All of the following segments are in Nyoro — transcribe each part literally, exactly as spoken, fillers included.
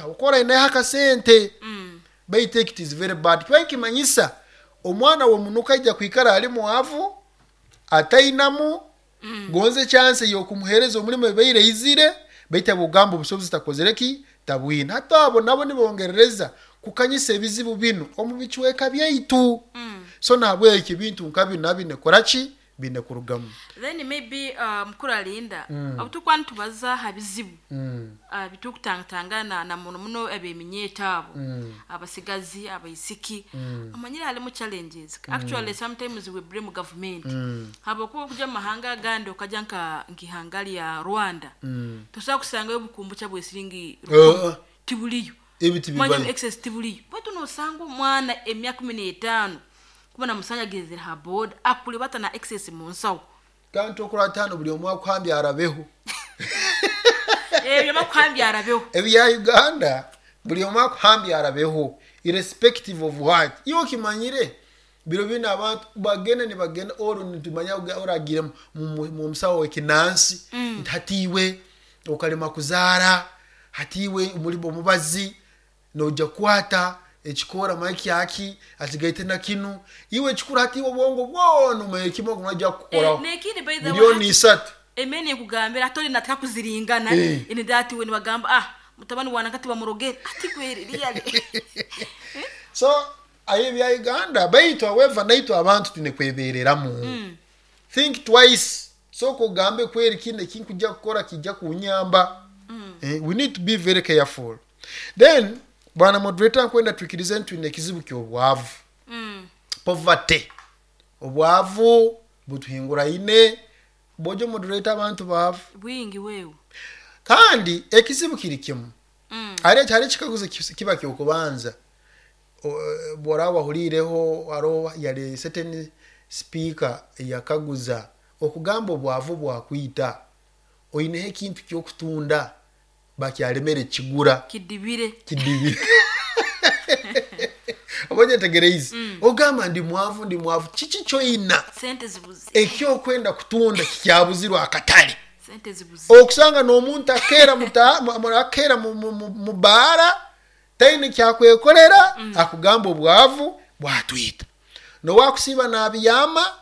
Habwokuba aineho akasente. Baitu it is very bad. Kiba nikimanyisa omwana w'omunuka aija kwikara ali mwavu, atainamu gonze chance ey'okumuheereza omulimo ebaire eizire, baitu abogamba obusobozi takozere ki, tabwine. Hati abo nabo nibongerereza kukanyisa ebizibu binu omu bicweka byaitu. So nahabwekyo ebintu nka binu nabyo biine kukora ki, biine kurugamu. Then maybe uh, mukuru alinda, mm. obu nitubaza ha bizibu mm. uh, bitukutangatangana na muno muno ab'eminyeeto abo, mm. abasigazi, abaisiki, mm. amanyire halimu challenges. mm. Actually, sometimes we blame government, mm. habwokuba okuja mu mahanga agandi, okaja nka nk'ihanga lya Rwanda, mm. tosobola kusangayo obukumbucha bwesiringi uh, tibuliyo. Ebi tibibayo. Manya excess tibuliyo, baitu nosanga omwana emyaka kumi n'etaano kuba namusanga agenzere ha boda akulibata na excess mu nsawo. Kandi okuratano buli omu akuhambya arabeho. Ebyo bakuhambya arabeho. Ebya Uganda buli omu akuhambya arabeho, irrespective of what. Iwe okimanyire biro bino abantu bagenda nibagenda oro nitumanya oragire mu musawo w'ekinansi mm. nti hatiiwe okalema kuzaara, hatiiwe omuli omubazi noija kukwata ekikoora makyaki akigaite na kinu. Iwe ekikuru hatiiwe obwongo bwona omanye kimu ogu kukukoraho. Nekindi, by the way, miliyoni hati- isatu. Emene nkugambira ate oli nataka kuziringana. Eh. Ini that way nibagamba, "Ah, mutabani wana kati bamurogere ati kweri really." So ayo ebya Uganda, baitu however naitwe abantu twine kwebereramu. Think twice, sooka ogambe kweri kino ekinkujja kukora kijja kunyamba. Eh, we need to be very careful. Then bwana moderator, nkwenda twikirize nti twine ekizibu ky'obwavu, Mm. poverty. Obwavu butuhinguraine. Bojo moderator, abantu baavu. Bwingi wewe. Kandi ekizibu kiri kimu. Mm. Hari hari ekikaguzo kis- kiba kyokubanza. O- bw'oraba wahuliireho, hariho yali certain speaker yakaguza okugamba obwavu bwakwita, oineho ekintu kyokutunda bakyalemere kigura. Kidibire. Kidibire. Oba onyetegereize, ogamba ndi mwavu, ndi mwavu, kiki kyoina? Sente zibuze. Ekyokwenda kutunda kikyabuzirwe akatale. Sente zibuze. Okusanga n'omuntu akeera muta- mu- mu- akeera mu- mu- mu- mu baara, taine kyakwekolera, akugamba obwavu bwatwita. Nowakusiiba nabiyama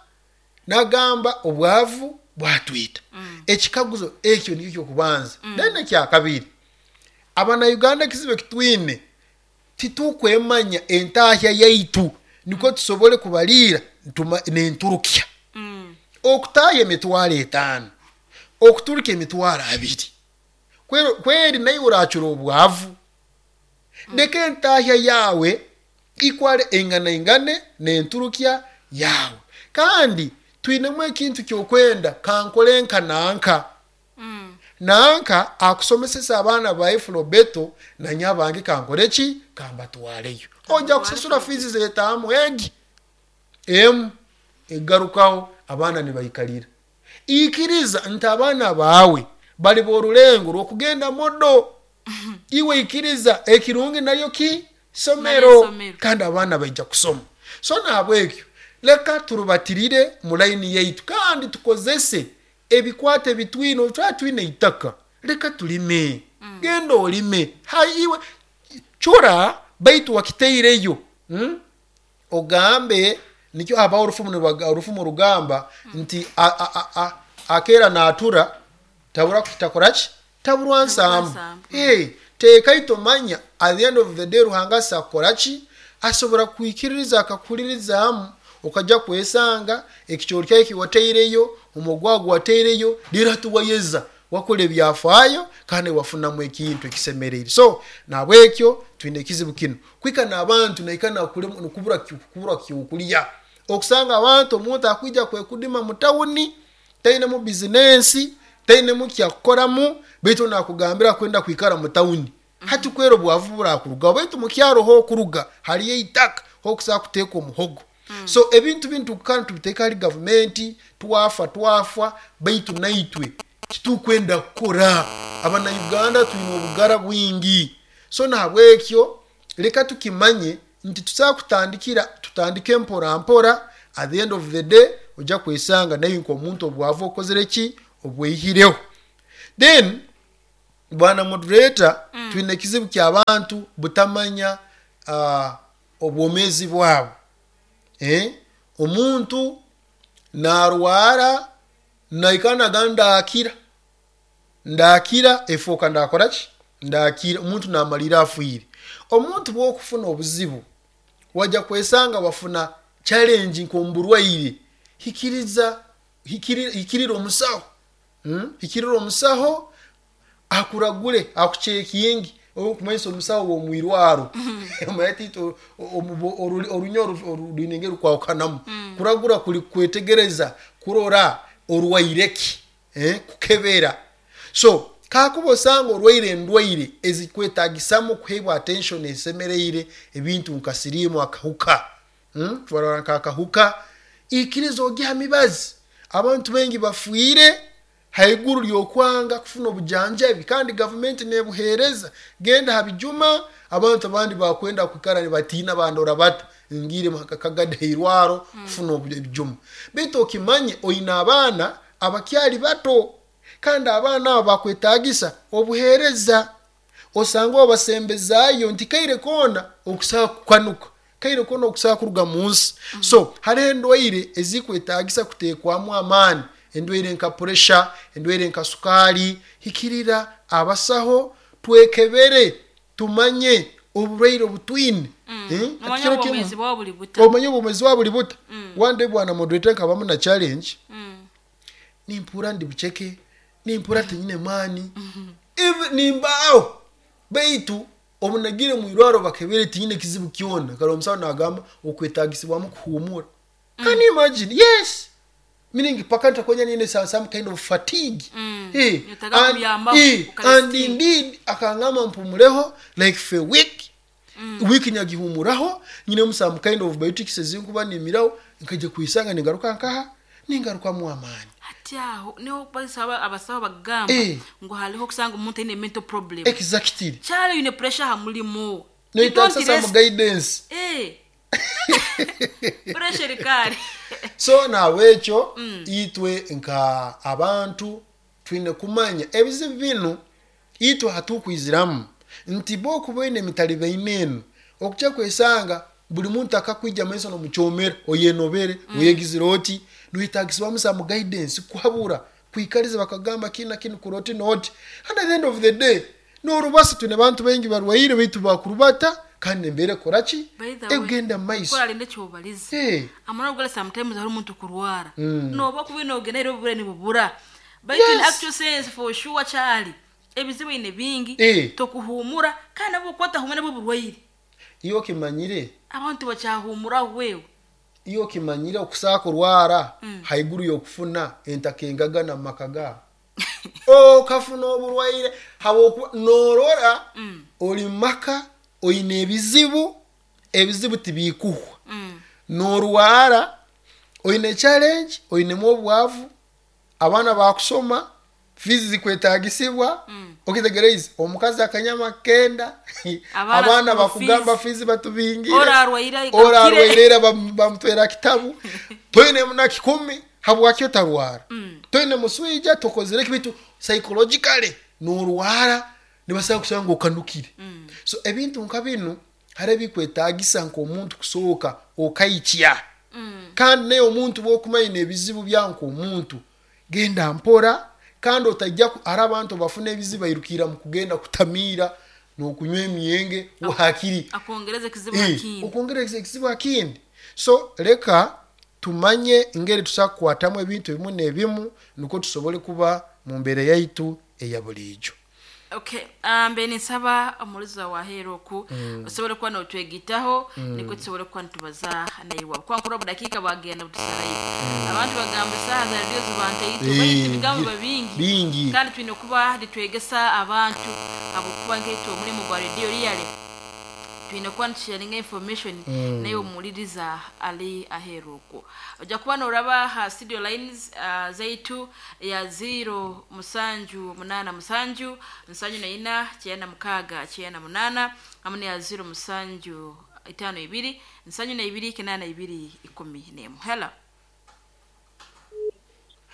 nagamba obwavu bwatwita. Ekikaguzo ekyo nikyo kyokubanza. Then ekyakabiri, Abanauganda ekizibu ekitwine, titukwemanya entahya yaitu nikwo tusobole kubaliira ntuma- nenturukya. Mm. Okutaaha emitwaro etaano, okuturuka emitwaro abiri, kweri, kweri naye oracura obwavu. Leka entahya yawe ikwale engana ingane nenturukya yawe. Kandi twinemu ekintu kyokwenda kankole nka nanka. Mm. Nanka akusomesesa abaana bae Flobert, nanye abange kankole ki, kambatwaleyo. Ojja kusasura fees zetaamu egi emu egarukaho, abaana nibaikalira. Ikiriza nti abaana baawe bali borulengo rwokugenda modo. Iwe ikiriza ekirungi naryo ki somero. Naryo somero. Kandi abaana baija kusoma. So nahabwekyo leka turubatirire mu layini yaitu kandi tukozese ebikwate bitwine. Twaba twine itaka, leka tulime. Genda olime. Hai, iwe cura baitu wakiteireyo, hmm? Ogambe nikyo habaho orufumu nibaga- orufumu rugamba nti a- a- a- a- akeera natura tabura takoraki, taburwa nsambu. Nsambu. Hey, teeka itomanya at the end of the day Ruhanga asakukoraki, asobora kwikiririza akakuhuririzaamu, okajja kwesanga ekikyoro kyawe kiwateireyo, omugwago wateireyo, lero tuwayeza wakola ebyafaayo kandi wafunamu ekintu ekisemereire. So nabwekyo twine ekizibu kino kwika n'abantu naika nakubura kubura kyokulya. Okusanga abantu omuntu akwija kwekudima mu tawuni, tainemu bizinensi, tainemu kyakukoramu, baitu nakugambira kwenda kwikara mu tawuni. Hati kwera obwavu burakurugaho, baitu mukyaro hokuruga hariyo eitaka hokusobola kuteeka omuhogo. So ebintu bintu kandi tubiteeka hali gavumenti, twafa twafa, baitu naitwe titukwenda kukora. Abanauganda twine obugara bwingi. So nahabwekyo leka tukimanye nti tusobola kutandikira, tutandike mpora mpora. At the end of the day ojja kwesanga naye nk'omuntu obwavu okozere ki, obweyihireho. Then Bwana moderator, twine ekizibu ky'abantu butamanya uh, obwomeezi bwabo. Eh? Omuntu narwara naikara nagamba ndakira, ndakira, efooka ndakora ki, ndakira. Omuntu namalira afiire. Omuntu bwokufuna obuzibu wajja kwesanga wafuna challenge nk'omuburwaire, hikiriza hikirira, hikirira omusaho, hmm? Hikirira omusaho akuragure, akucekingi. Okumanyisa omusaho w'omwirwaro omanyire orunya orwine engeri rukwahukanamu. Kuragura kuri kwetegereza, kurora orwaire ki, eh? Kukebera. So kakuba osanga orwaire endwaire ezikwetagisamu kuheebwa attention esemereire, ebintu nka siriimu, akahuka, hmm? Twarora nk'akahuka, ikiriza ogiha mibazi. Abantu baingi bafiire haiguru ly'okwanga kufuna obujanjabi, kandi gavumenti nebuheereza. Genda ha bijuma, abantu abandi bakwenda kwikara nibatiina bandora bata ngire kagadi hairwaro kufuna ebijuma. Baitu okimanye oine abaana abakyali bato, kandi abaana abo bakwetagisa obuheereza. Osanga obasembezaayo nti kaire koona okusobola kukanuka, kaire koona okusobola kuruga mu nsi. So hariho endwaire ezikwetagisa kuteekwamu amaani, endwaire nka puresha, endwaire nka sukaali. Hikirira abasaho, twekebere, tumanye oburwaire obutwine. Eh? Omanye Kiro kimu- obwomeezi bwawe buli buta. Omanye obwomeezi bwawe buli buta. One day, bwana moderator, nkabamu na challenge. Mm. Nimpura ndi buceke, nimpura tinyine maani. Even nimbaaho, baitu obunagire mwirwaro bakebere, tinyine kizibu kyona. Kale omusawo nagamba okwetagisibwamu kuhumura. Can you imagine? Yes, meaning paka ntakwenya nine some, some kind of fatigue. Mm. Eh, Yetaaga and, kuyambaho, eh, ukarestinga. And indeed akangamba mpumureho like for a week. Week nyagihumuraho, nyinemu some kind of biotics ezinkuba nimiraho, nkajya kwisanga ningaruka nkaha ningarukamu amaani. Hati aho niho basaba abasaho bagamba Eh. ngu hariho kusanga omuntu aine mental problem. Exactly. Kyali oyine pressure ha mulimu. You don't Noyetagisa some rest. guidance. Eh. Pressure erikari. So nabwekyo itwe nka abantu twine kumanya ebizibu binu itwe hatukwiziramu nti bo okuba oine emitalibaine enu, okujya kwesanga buli muntu akakwija maiso nomukyomera, oyenobere, oyegizire oti noyetagisibwamu some guidance, kuhabura, kwikariza, bakagamba kinu na kinu, kuroti noti. And at the end of the day norubasa, twine bantu baingi barwaire baitu bakurubata, kandi embeera ekora ki, By the way, egenda mu maiso. Kora ekyobaliza. Eh. Amara ogala sometimes hari omuntu kurwara. Mm. Noba kuba nogenda era obubura nibubura. But in Yes. actual sense, for sure kyali ebizibu ine bingi, Eh. tokuhumura, kandi nabwo kwatahumura nabwo burwaire. Iyo okimanyire, Abantu bakyahumuraho wewe. Iyo okimanyire okusaa kurwara haiguru y'okufuna entaka engagana mu maka gaabo, okafuna oburwaire habwokuba norora oli maka oine ebizibu, ebizibu tibikuhwa. Mm. Norwara, oine challenge, oinemu obwavu, abaana bakusoma, fees zikwetagisibwa. Okitegereize omukazi akanyama kenda, Abaana abaana school bakugamba fees. fees batubingire. Ora arwaire, ora akire. arwaire era bam- bamutwera kitabu, toine na kikumi. Habwaki otarwara? Toine muswija, tokozere kibitu, psychologically norwara, nibasaba kusanga okanukire. So ebintu nka binu hari ebikwetagisa nk'omuntu kusooka okaikya. Kandi naye omuntu bwokumanya ebizibu bya nk'omuntu, genda mpora, kandi otajja ku- hari abantu bafuna ebizibu bairukira mu kugenda kutamiira n'okunywa emyenge hakiri Akongereza ekizibu Eh, akindi. okwongereza ekizibu akindi. So leka tumanye engeri tusobola kukwatamu ebintu ebimu n'ebimu, nukwo tusobole kuba mu mbeera yaitu eya buliijo. Okay, ah, mbe ninsaba omulizi waheera oku osobole kuba notwegitaho, nikwo tusobole kuba nitubaza naiwe, kuba nkura obudakiika bwagenda butusarayo. Abantu bagamba esaaha za rediyo zibantaito, Eh, baitu ebigambo bi- biba bingi. Bingi. Kandi twine kuba nitwegesa abantu, habwokuba nkaitwe omulimu gwa rediyo riyale twine kuba nitusharinga information naye omuwuliriza ali aheeru okwo. Ojja kuba noraba ha studio lines uh, zaitu ya zero musanju munana musanju nsanju na ina kyenda mukaaga kyenda munana, hamwe neya zero musanju itaano ibiri nsanju na ibiri kinana ibiri ikumi n'emu. Hello,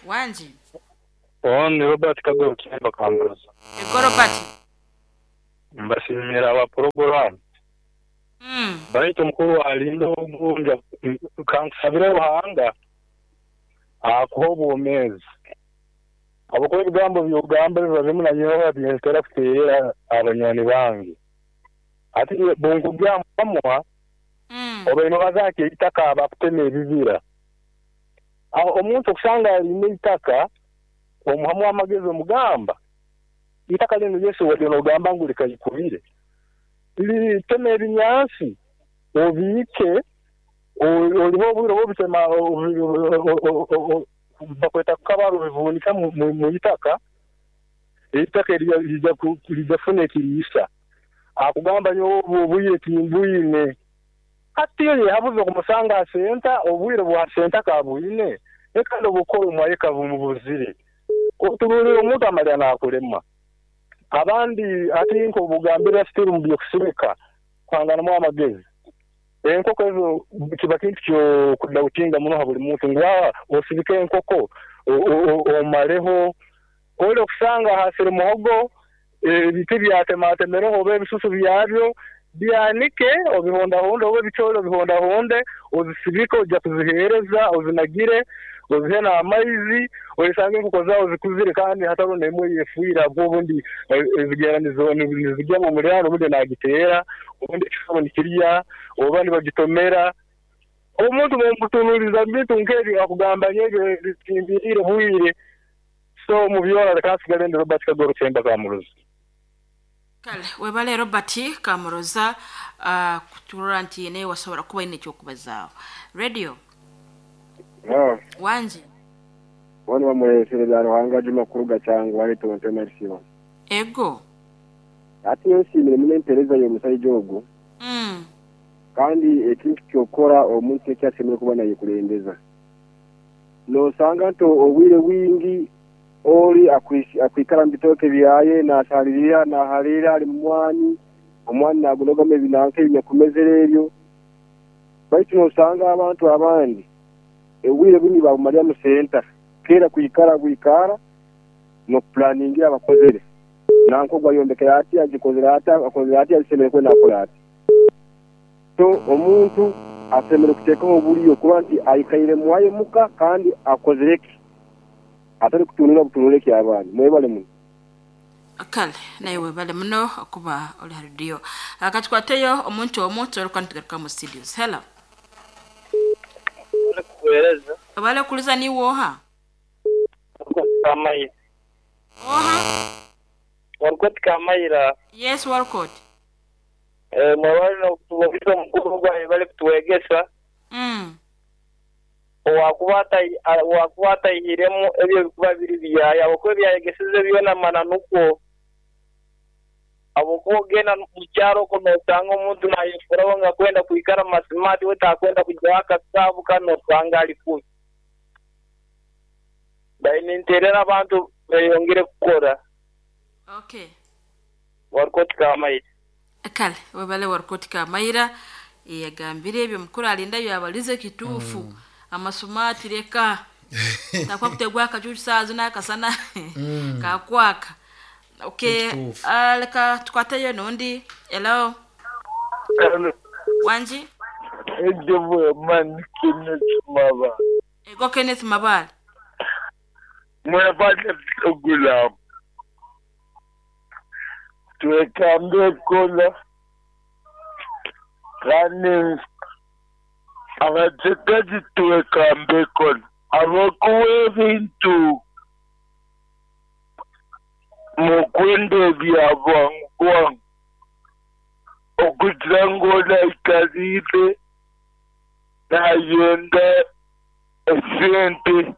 wangi. Ni Robert Kagoro Kimba Kambuza. Ego Robert. Mbasimira aba program. Mm. Baitu mukuru alinda ogunja kankusabira Ruhanga akuha obwomeezi. Abakora ebigambo byogamba biba bimu na nyowe byentera kuteerera abanywani bange. Ati bunkugambamwa Mm. obaine bazaake eitaka abakutema ebibira. Aho omuntu okusanga alina eitaka omuhamu amagezi omugamba itaka lino Yesu wadde n'ogamba ngu likayikubire litema ebinyansi obiike oliho obwire obutema bakweta kukabaro bivunika mu itaka itaka lijja kufuna ekiriisa akugamba nyowe obwire timbwine hati yehabuze okumusanga asenta obwire bwa senta kabwine kandi obukora omwayeka bumubuzire otunuulira omuntu amalya n'akulema abandi ati nk'obugambira sitiru mu byokusirika kwanganamu amagezi enkoko ezo kiba kintu kyokudautinga muno ha buli muntu ngu osibike enkoko omaleho oli okusanga hasire muhogo ebiti byatematemereho oba ebisusu byabyo byanike obihondahonde oba ebicoori obihondahonde ozisibike ojja kuziheereza ozinagire ozihe n'amaizi oyisange enkoko zaawe zikuzire kandi hatariho n'emwe yefiire ahabw'obundi ezigenda nizigya mu muliraano obundi naagiteera obundi ekisoro nikirya oba nibagitomera omuntu bwomutunuuliza mu bintu nk'ebyo akugamba nyebyo timbiriire bwire so mu byona leka nsigale ndi Robert Kagoro Kyemba Kamuroza. Kale webale Robert Kamuroza uh, kuturora nti naye wasobola kuba ine ekyokubazaaho. Radio. No. Wanje. Wani wamuleesere bya Ruhanga Juma kuruga cyangwa wale tonto mersiwa. Ego. Ati yonsimire mune mpereza yo musajja ogwo. Mm. Kandi ekintu kyokora omuntu ekyasemere kuba naye kulembeza. Nosanga nto obwire bwingi oli akwikara mbitoke byaye nasalirira nahalira ali mumwani omwani nagunogama ebinanka ebinyakumezera ebyo baitu nosanga abantu abandi obwire bwingi babumalya mu senta kera kwikara bwikara nokupulaningira abakozere nanko gwayombekera ati agikozere ati akozere ati asemere kwenda akola ati so omuntu asemere kuteekaho obuliyo kuba nti ayikaire muwaye muka kandi akozereki atari kutunula butunule ki abandi mwebale muno. Kale naye webale muno okuba oli ha radio akatukwateyo omuntu omu tusobola tugaruka mu studios. Hello. Kuhereza obale kuliza ni woha Kamayira. Oha Walcott Kamayira. Yes Walcott. Eh mwabale n'okutubuuza omukuru gwawe bali kutuwegesa. Mm. Owakuba owakuba atayihiremu ebyo bikuba biri byaya okuba ebyayegeseze byona mananukwo abokuba ogenda mu kyaro okwo nosanga omuntu nayefuraho nga kwenda kwikara masimati we takwenda kujyaho akasaabu kano nosanga ali kubi baine nterera abantu beyongere kukora. Okay. Walcott Kamayira. Kale webale Walcott Kamayira yagambire ebyo mukuru alinda yabalize kituufu. Mm. Amasumati reka takwa kutegwa akacucu saazo n'akasana Mm. kakwaka. Okay, Kituufu. uh, leka tukwateyo n'ondi. Hello. Wanji. Ejo man Kenneth Mabale. Ego Kenneth Mabale. Mwebale program. Twekambe kola kandi abatekazi twekambe kola abakuwa ebintu mukwenda bya bwangu bwangu okugira ngu onaikarire nayenda esente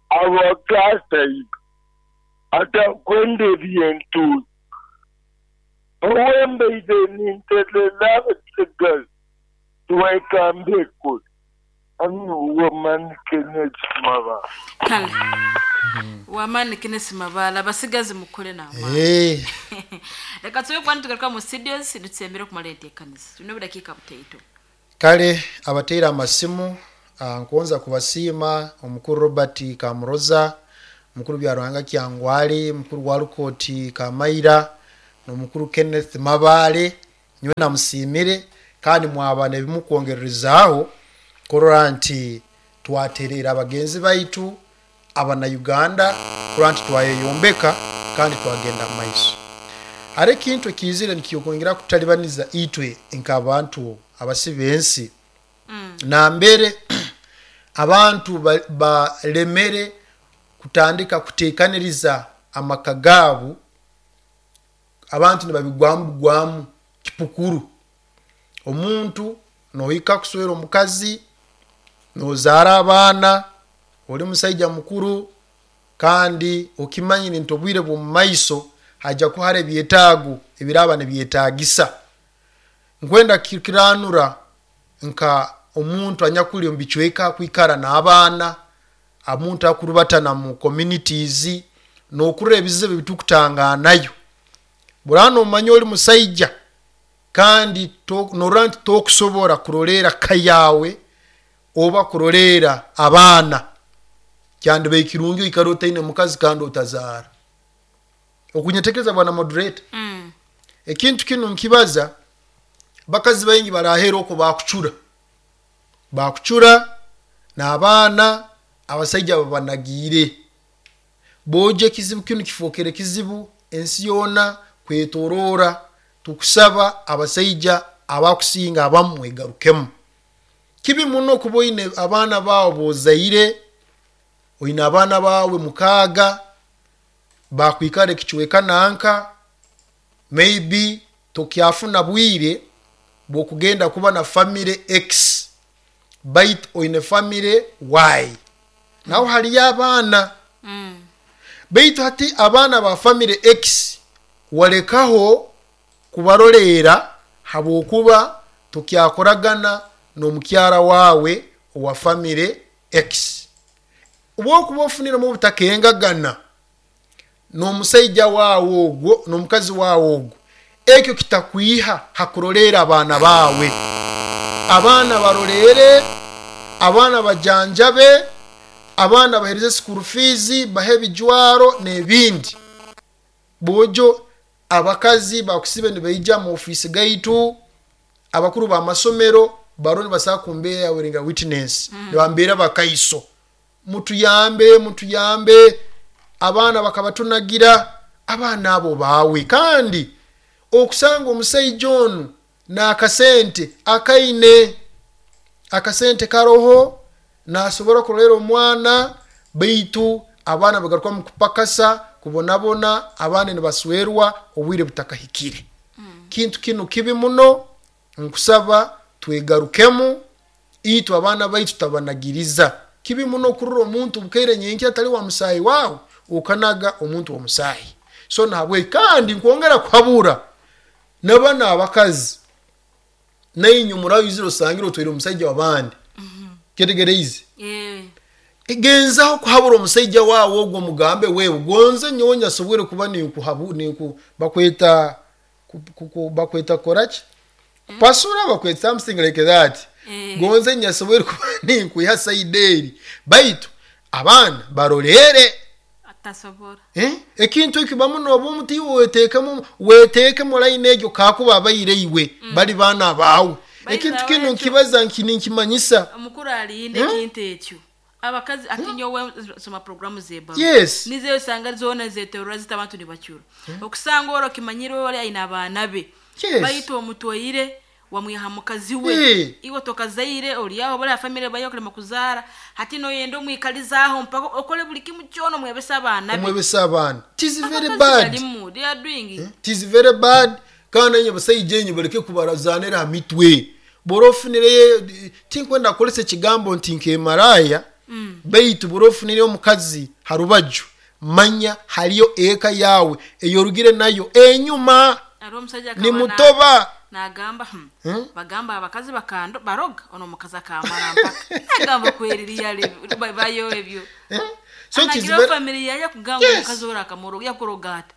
abakasaida atakwenda ebintu owembeire ninterera abatekazi twekambe kola ani Kenneth Mabale. Kale wamani Kenneth Mabale abasigazi mukole n'amaani. Eh. Reka tube kwani tugaruka mu studios dutsembere kumala enteekaniza tulina obudakiika butaito. Kale abateera amasimu uh, nkuwonza kubasiima omukuru Robert Kamuroza Mukuru Byaruhanga Kyangwale, mukuru Walukoti Kamaira n'omukuru Kenneth Mabale, nyowe namusiimire kandi mwaba nebimukwongererezaaho kurora nti twaterera abagenzi baitu abana Uganda, kurora nti twayeyombeka kandi twagenda mu maiso. Hari ekintu ekiizire nikikwongera kutalibaniza itwe nk'abantu abasi b'ensi, nambere abantu balemere kutandika kuteekaniriza amaka gaabo. Abantu nibabigwamu bugwamu kipukuru. Omuntu nohika kuswera omukazi, nozaara abaana, oli musaija mukuru, kandi okimanyire nti obwire bw'omu maiso hajya kuba hari ebyetaago ebiraaba nibyetaagisa. Nkwenda kiranura nka omuntu anyakuli omu bicweka akwikara n'abaana, omuntu akurubatana mu communities, n'okurora ebizibu ebitukutanganayo. Buraba nomanya oli musaija kandi norora nti tokusobora kuroleera ka yawe oba kuroleera abaana, kyandibaire kirungi oikara otaine mukazi kandi otazaara. Okunyetegereza, bwana moderator? Mm. Ekintu kinu nkibaza, bakazi baingi barahera okwo bakucura bakucura n'abaana abasaija babanagiire. Boja ekizibu kinu kifookere kizibu ensi yoona kwetoroora. Tukusaba abasaija abakusinga abamu mwegarukemu. Kibi muno kuba oine abaana bawe bozaire, oine abaana bawe mukaaga bakwikara ekicweka nanka, maybe tokyafuna bwire bwokugenda kuba na family X, baitu oine family Y, naho haliyo abaana. Mm. Baitu hati abaana ba family X walekaho kubaroleera habwokuba tokyakoragana n'omukyara wawe owa family X. Obwokuba ofuniremu obutakengagana n'omusaija wawe ogwo n'omukazi wawe ogwo, ekyo kitakwiha hakuroleera abaana bawe. Abaana baroleere, abaana bajanjabe, abaana bahereze school fees, bahe ebijwaro n'ebindi. Bojo abakazi bakusibe nibaija mu ofiisi gaitu, abakuru b'amasomero baro nibasaba kumbeera yawe witness, nibambeera bakaiso, mutuyambe, mutuyambe, abaana bakabatunagira. Abaana abo baawe, kandi okusanga omusaija onu n'akasente akaine, akasente karoho, nasobora kurolera omwana, baitu abaana bagaruka mu kupakasa, kubonabona, abaana nibaswerwa obwire butakahikire. Kintu kinu kibi muno. Nkusaba twegarukemu itwe, abaana baitu tutabanagiriza. Kibi muno okurora omuntu bukaire nyenkya atali wa musaayi wawe, okanaga omuntu w'omusaayi. So nahabweki kandi nkwongera kuhabura nabana abakazi, nainywe muraizire osangire otwaire omusaija w'abandi, kyetegereize? Eh. Genzaho kuhabura omusaija wawe ogwo, mugambe, wewe gonze nyowe nyasobwere kuba ninkuhabu ninku bakweta ku- ku- bakweta koraki, kupasura, bakweta something like that. Eh. Gonze nyasobwere kuba ninkwiha side eri, baitu abaana barorere. Atasobora. Eh? Ekintu ekyo bamu noba omuti iwe weteekemu weteekemu line egyo, kakuba abaire iwe bali baana baawe. Baitu Ekintu awe kinu ekyo- nkibaza nki ninkimanyisa. Omukuru alinde ekintu ekyo, abakazi ati nyowe soma programu zeba Yes. nizeyo osanga zona zeterura zita abantu nibacura, okusanga oro kimanyire ori aine abaana be, Yes. baitu omutwaire wamwiha mukazi we. Eh. Iwe tokazaire, oliaho bali afamily bayo okulema kuzaara, hati noyenda omwikalizaaho mpaka okole buli kimu kyona, omwebesa abaana be. Omwebesa abaana. It is very Abakazi bad. balimu, they are doing it. It is very bad. Kandi enye basaija enye baleke kubarazanira ha mitwe. Bora ofunireyo, tinkwenda kukolesa ekigambo nti nkemaraya, baitu bora ofunire omukazi harubaju, manya haliyo eka yawe eyorugire nayo enyuma. Hariho omusajja Ni akaba na- mutoba. nagamba, hmm, Hmm? bagamba abakazi bakando baroga, ono omukazi akamara mpaka agamba kweririya bayo ebyo. Eh? So it is Anagira very- family yaye kugamba Yes. omukazi ora akamoroga, yakuroga ata?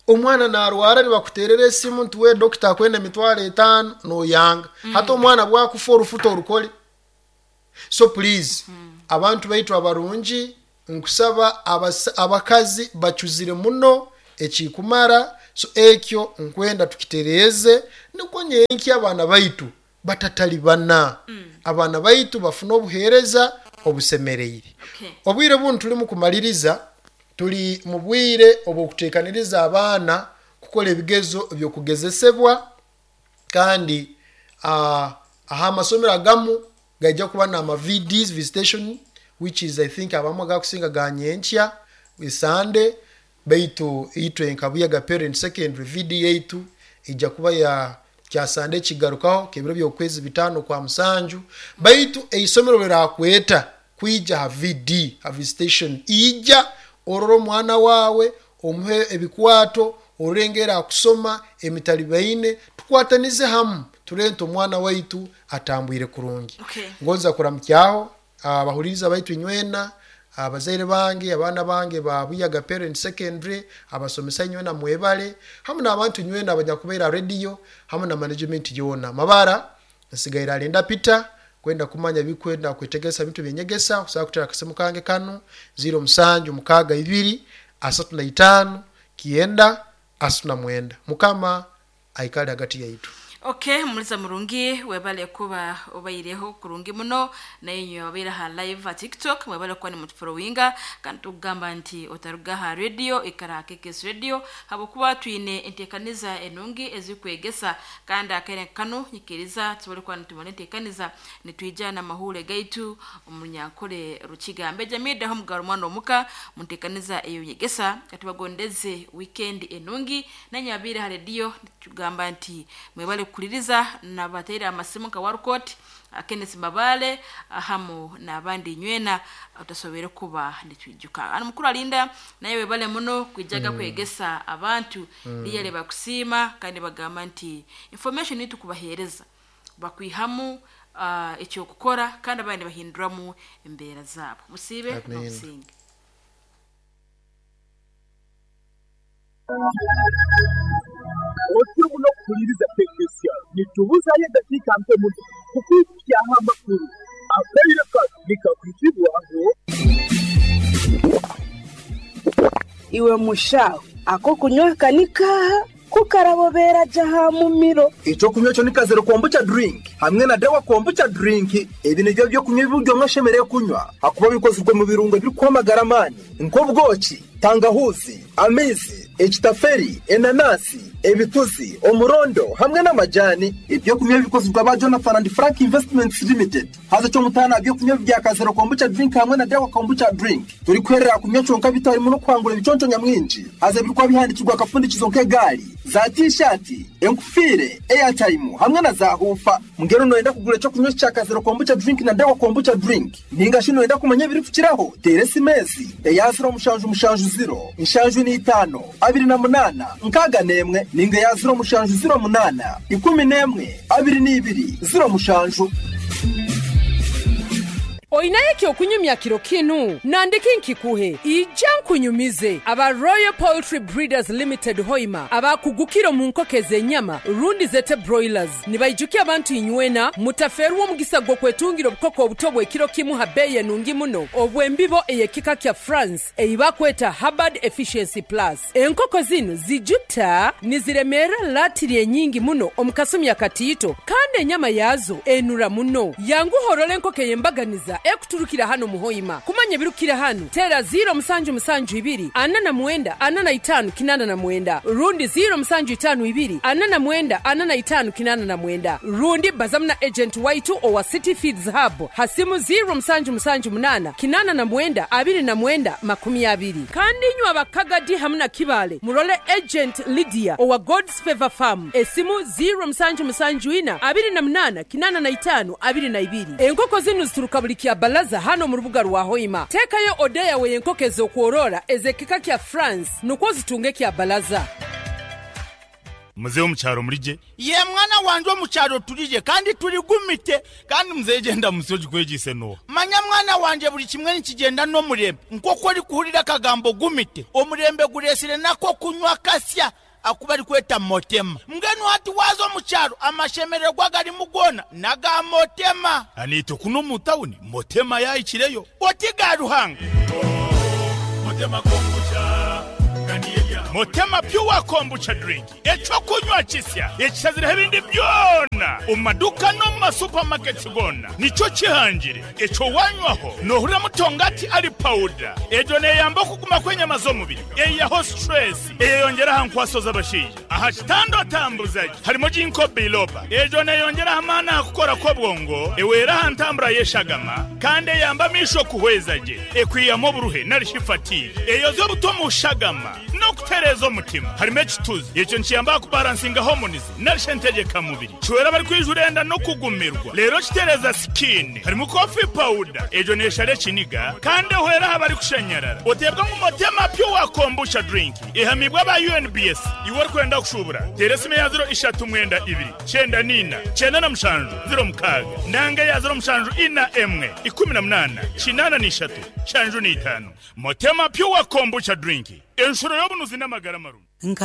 Omwana narwara, nibakuterera esimu nti we dokita akwenda emitwaro etaano, noyanga. Hati omwana bwakufa, orufuta orukole. So please, abantu baitu abarungi Nkusaba abakazi bacuzire muno ekikumara. So ekyo nkwenda tukitereeze niko nyenki abaana baitu batatalibana. Mm. Abaana baitu bafuna obuheereza obusemereire. Okay. Obwire bunu tuli mu kumaliriza, tuli mu bwire obw'okuteekaniriza abaana kukola ebigezo eby'okugezesebwa, kandi uh, aha amasomero agamu gajja kuba n'ama V Ds, visitation, which is I think abamu agakusinga ga nyenkya Sunday, baitu itwe nka parent secondary V D yaitu ijja kuba ya kya Sunday kigarukaho kebiro by'okwezi bitano kwa musanju. Baitu eisomero lirakweta kwija ha V D, ha visitation, ija ororo omwana wawe omuhe ebikwato orengera akusoma emitalibaine, tukwatanize hamu turente omwana waitu atambwire kurungi. Okay. Ngonza kuramukyaho abahuliriza baitu inywena, abazaire bange, abaana bange ba Buyaga Parent Secondary, abasomesa inywena mwebale, hamu n'abantu inywena abanyakubeera radio, hamu na management yona. Mabara nsigaira alinda Peter kwenda kumanya bikwenda kwetegesa bintu byenyegesa. Usaba kutera akasimu kange kano zero musanju mukaga ibiri asatu na itano kienda asatu na mwenda. Mukama aikale hagati yaitu. Okay, muliza murungi webale kuba obaireho kurungi muno naye nyo wabeera ha live ha TikTok, mwebale kuba ni mutufollowinga kandi tugamba nti otaruga ha radio ikara K K S radio habwokuba twine enteekaniza enungi ezikwegesa kandi akaire kano nyikiriza tubole kuba nitumona enteekaniza nitwija n'amahure gaitu omunyankole Rukiga Jamida ho mugaro mwana omuka munteekaniza eyo nyegesa katubagondeze weekend enungi nanyo wabeera ha radio tugamba nti mwebale kuliriza nabateera amasimu ka warukot Kenneth Mabale hamu n'abandi nywena utasobere kuba nitwijuka. Ano mukuru alinda naye webale muno kwijaga mm. kwegesa abantu mm. liyale bakusiima kandi bagamba nti information itu kubahereza bakwihamu uh, ekyo kukora kandi abandi bahinduramu embeera zabo. Musibe n'obusinge. Otimu no kuliriza tekesya nitubuza ye dakika mpe muno kukuya amakuru akaire nikakutibwaho iwe mushaho ako kunywa kanika kukarabobera jaha mumiro. Ico kunywa cyo nikazero kombucha drink hamwe na dawa kombucha drink. Ebi nivyo byo kunywa ibiryo mwashemereye kunywa hakuba bikozwe mu birungo biri kwamagara amani nk'obwoki, tangahuzi, amezi, ekitaferi, enanasi, ebituzi, omurondo hamwe n'amajani. Ibyo kunywa bikozwe ba Jonathan and Frank Investments Limited. Haza cyo mutana byo kunywa bya kazero kombucha drink hamwe na dawa kombucha drink. Turi kwerera kunywa cyonka bitari mu no kwangura ibiconco nyamwinji. Haza birikwa bihandikirwa akafundikizo nk'egari, za t-shirt, enkufire, airtime hamwe na za hufa. Mungero noenda kugura cyo kunywa cya kazero kombucha drink na dawa kombucha drink. Ninga shino enda kumanya biri kukiraho. Teresi mezi, eyaziro mushanju mushanju zero, inshanju ni itano, abiri na munana, nkaga nemwe, ninga ya zero mushanju zero munana, ikumi nemwe, abiri n'ibiri, zero mushanju. Oinaye kyokunyumya kiro kinu nandiki nkikuhe ija nkunyumize aba Royal Poultry Breeders Limited Hoima abakugukiro mu nkoko z'enyama rundi zete broilers nibaijukia abantu inywena mutaferwa omugisa gwo kwetungira obukoko obuto bw'ekiro kimu ha beyi enungi muno obw'embibo ey'ekika kya France eyibakweta Hubbard Efficiency Plus. Enkoko zino zijuta niziremera latiri enyingi muno omukasumi akatiito kandi enyama yazo enura muno. Yanguhorole enkoko ey'embaganiza ekuturukira hano muhoima. Kumanya birukira hano tera zero musanju musanju ibiri ana na mwenda ana na itanu kinana na mwenda rundi zero musanju itanu ibiri ana na mwenda ana na itanu kinana na mwenda rundi bazamna agent waitu owa City Feeds Hub hasimu zero musanju musanju munana kinana na mwenda abiri na mwenda makumi abiri. Kandi nywa abakagadi hamna kibale murole agent Lydia owa God's Favor Farm esimu zero musanju musanju ina abiri na munana kinana na itanu abiri na ibiri. Enkoko zinu zituruka buli kya balaza hano mu rubuga rwa Hoima. Tekayo odeya we enkoko ez'okworora ezekika kya France nukwo zitunge kya balaza. Mzee omukyaro mulije ye mwana wanje omukyaro tulije kandi tuligumite kandi mzee genda musoji kwegise no manya mwana wanje buli kimwe nikigenda n'omurembe nk'oku ori kuhurira akagambo gumite omurembe guresire nako kunywa kasya akuba ari kweta motema mbwenu hati waza omukyaro amashemererwa gari mugona naga motema anito kuno mu tawuni motema yayikireyo oti ga Ruhanga. Motema kombucha. Motema Pure Kombucha drink, ekyokunywa kisya ekisazireho ebindi byona omu maduka no mu masupamaketi gona. Nikyo kihangire ekyo wanywaho nohurira mutongati ali pawuda. Egyo neyamba okuguma kw'enyama z'omubiri, eyaho stress, eyeyongera aha nkwaso z'abashaija aha kitanda otambuzaje. Harimo ginkgo biloba, egyo neyongera amaani aha kukora kw'obwongo, ewera aha ntambura y'eshagama, kandi eyamba amaisho kuhweza gye, ekwihamu oburuhe narishi fatigue, eyoza obuto mu shagama n'okutereeza omutima. Harimo ekituzi, ekyo nikiyamba kubalansinga hormones narishi entegekamubiri, kiwera bari kwijura enda n'okugumirwa, rero kitereza skin. Harimo coffee powder, egyo neshara ekiniga kandi ehwera aha bari kushanyarara. Oteebwa ngu Motema Pure Kombucha drink ehamibwa aba U N B S. Iwe orikwenda kushubura, tera esimu ya ziro ishatu mwenda ibiri cyenda nina cyenda na mushanju ziro mukaaga nanga ya ziro mushanju ina emwe ikumi na munana kinana n'ishatu shanju n'itanu. Motema Pure Kombucha drink, enshuro y'obunuzi n'amagara marungi. Nka